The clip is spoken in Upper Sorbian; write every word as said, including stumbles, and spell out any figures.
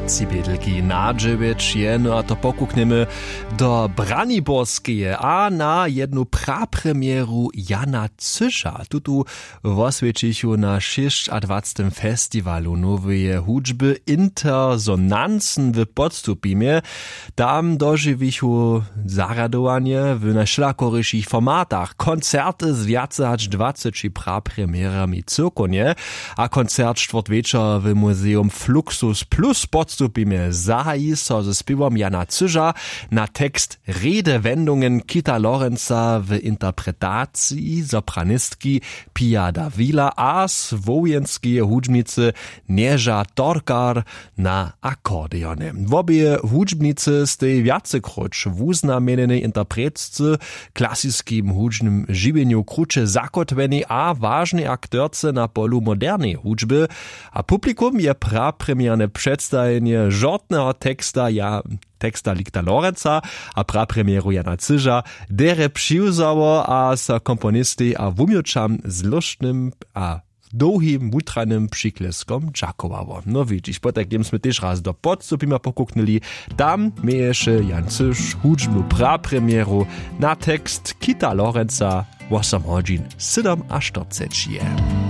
Tři bědelki na dźewjeć je, no a to pokuknjemy do Braniborskeje a na jednu prapremjeru Jana Cyža. Tutu woswjećichu na šěsćadwacetym festiwalu noweje hudźby Intersonancen w Podstupimje. Tam dožiwichu zarjadowanje w najwšelakorišich formatach, koncerty z wjace hač dwaceći prapremjerami cyłkownje a koncert štwórtwječor w muzeum Fluxus Plus Podstupimje zahaji so ze spěwom Jana Cyža na tekst Redewendungen Kita Lorenza w interpretaciji sopranistki Pia Davila a słowjenskeje hudźbnicy Nježa Torkar na akordeonje. Wobě hudźbnicy stej wjacekróć wuznamjenjenej interpretce w klasiskim hudźbnym žiwjenju kruće zakótwjenej a wažnej aktorce na polu moderneje hudźby. A publikum je prapremjerne předstajenje žortneho teksta ja teksta Likta Lorenza a prapremjeru Jana Cyža derje přiwzało a so komponistej a wuměłčam z lóštnym a dołhim wutrajnym přikleskom dźakowało. No widźiš, potajkim smy tež raz do Podstupima pokuknyli. Tam měješe Jan Cyž hudźbnu prapremjeru na tekst Kita Lorenza. Wosom hodźin sydomaštyrceći je.